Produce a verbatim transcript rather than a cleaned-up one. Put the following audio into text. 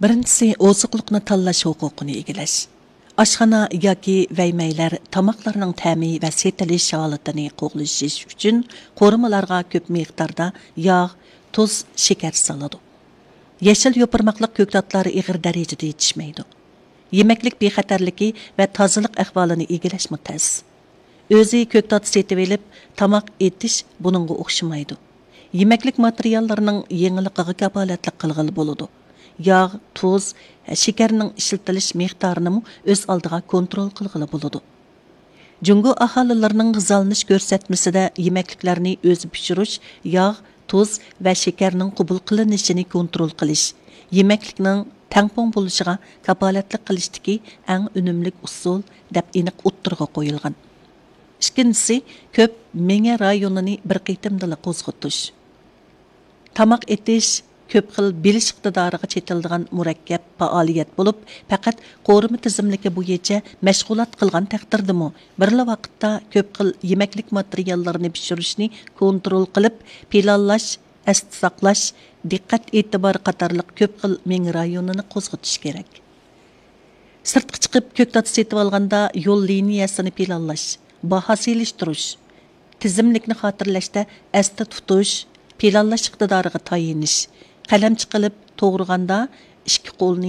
بىرىنچىسى، ئوزۇقلۇقنى تاللاش ھوقۇقىنى ئىگىلەش. ئاشخانا ياكى ۋەيمەيلەر تاماقلارنىڭ تەمى ۋە سېتىلىش ھالىتىنى قوغلىشىش ئۈچۈن قورۇمىلارغا كۆپ مىقداردا ياغ، تۇز، شېكەر سالىدۇ. يېشىل يوپۇرماقلىق كۆكتاتلار ئېغىر دەرىجىدە يېتىشمەيدۇ. يېمەكلىك بىخەتەرلىكى ۋە تازىلىق ئەھۋالىنى ئىگىلەشمۇ تەس. ئۆزى كۆكتات سېتىۋېلىپ تاماق ئېتىش بۇنىڭغا ئوخشىمايدۇ. يېمەكلىك ماتېرىياللىرىنىڭ يېڭىلىقىغا كاپالەتلىك قىلغىلى بولىدۇ. ياغ، تۇز، شېكەرنىڭ ئىشلىتىلىش مىقدارىنىمۇ ئۆز ئالدىغا كونترول قىلغىلى بولىدۇ. جۇڭگو ئاھالىلىرىنىڭ غىزالىنىش كۆرسەتمىسىدە يېمەكلىكلەرنى ئۆزى پىشۇرۇش، ياغ، تۇز ۋە شېكەرنىڭ قوبۇل قىلىنىشىنى كونترول قىلىش، يېمەكلىكنىڭ تەڭپۇڭ بولۇشىغا كاپالەتلىك قىلىشتىكى ئەڭ ئۈنۈملۈك ئۇسۇل، دەپ ئېنىق ئوتتۇرىغا قويۇلغان. ئىككىنچىسى، كۆپ مېڭە رايونىنى بىر قېتىمدىلا قوزغىتىش. تاماق ئېتىش كۆپ خىل بىلىش ئىقتىدارىغا چېتىلىدىغان مۇرەككەپ پائالىيەت بولۇپ، پەقەت قورۇما تىزىملىكى بويىچە مەشغۇلات قىلغان تەقدىردىمۇ، بىرلا ۋاقىتتا كۆپ خىل يېمەكلىك ماتېرىياللىرىنى پىشۇرۇشنى كونترول قىلىپ، پىلانلاش، ئەستە ساقلاش، دىققەت ئېتىبار قاتارلىق كۆپ خىل مېڭە رايونىنى قوزغىتىش كېرەك. سىرتقا چىقىپ كۆكتات سېتىۋالغاندا يول لىنىيەسىنى پىلانلاش، باھا سېلىشتۇرۇش، تىزىملىكنى خاتىرىلەشتە ئەستە تۇتۇش، پىلانلاش ئىقتىدارىغا تايىنىش، قەلەمچە قىلىپ توغرىغاندا ئىككى قولنى